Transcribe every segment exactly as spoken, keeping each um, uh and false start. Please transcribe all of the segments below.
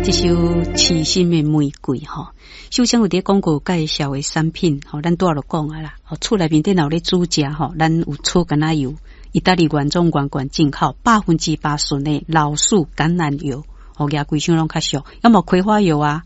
這首《痴心的玫瑰》吼，首先有佇廣告介紹的產品吼，咱拄仔就講啊啦，吼厝內面頂有咧煮食吼，咱有草橄欖油，意大利原裝原罐進口，百分之百純的老樹橄欖油，吼，額規箱攏較俗，抑無葵花油啊，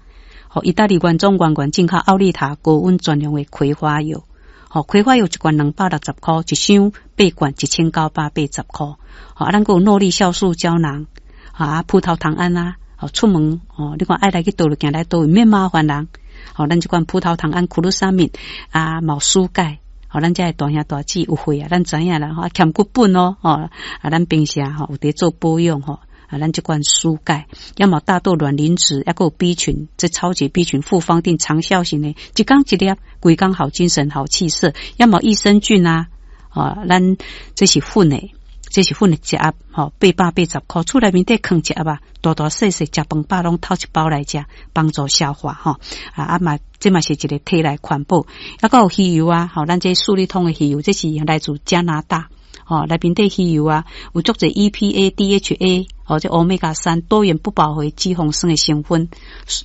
吼，意大利原裝原罐進口奧利塔高溫專用的葵花油，吼，葵花油一罐兩百六十箍，一箱八罐一千九百八十箍，吼，啊，咱閣有諾麗酵素膠囊，啊，葡萄糖胺啊。哦，出門哦，你看愛來去佗落行來佗位免麻煩人。吼，咱這款葡萄糖胺、苦魯沙明啊，嘛有舒鈣。吼，咱遮的大兄大姊有會啊，咱知影啦。吼，欠骨本哦，吼，啊，咱平時吼有佇做保養吼，啊，咱這款舒鈣，抑嘛大豆卵磷脂，抑閣有 B 群，這超級 B 群複方錠長效型的，一工一粒，規工好精神、好氣色。抑嘛益生菌啊，哦，咱這是粉的。這是粉的一盒，吼，八百八十箍，厝內面底囥一盒啊，大大細細食飯飽攏偷一包來食，幫助消化，吼。啊啊嘛，這嘛是一個體內環保，抑閣有魚油啊，吼，咱這舒利通的魚油，這是來自加拿大，吼，內面底魚油啊，有足濟 E P A、D H A，或者歐米伽三多元不飽和脂肪酸的成分，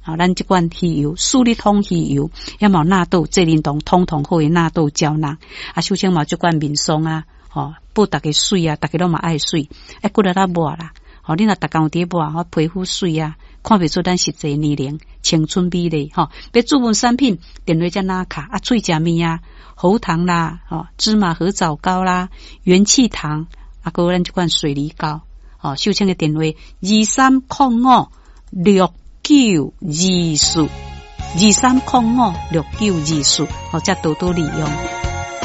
啊，咱這款魚油，舒利通魚油，抑嘛納豆、濟靈酮通通好的納豆膠囊，啊，首先嘛這款面霜啊。吼，報逐家媠啊，逐家攏嘛愛媠，愛骨力仔抹啦。吼，你若逐工有佇抹，吼，皮膚媠啊，看袂出咱實際年齡，青春美麗。吼，欲注文產品，電話才拿卡啊，喙食物啊，喉糖啦，吼，芝麻核棗糕啦，元氣糖，啊，閣有咱這款水梨膏。吼，秀清的電話二三空五六九二四，二三空五六九二四，吼，才多多利用。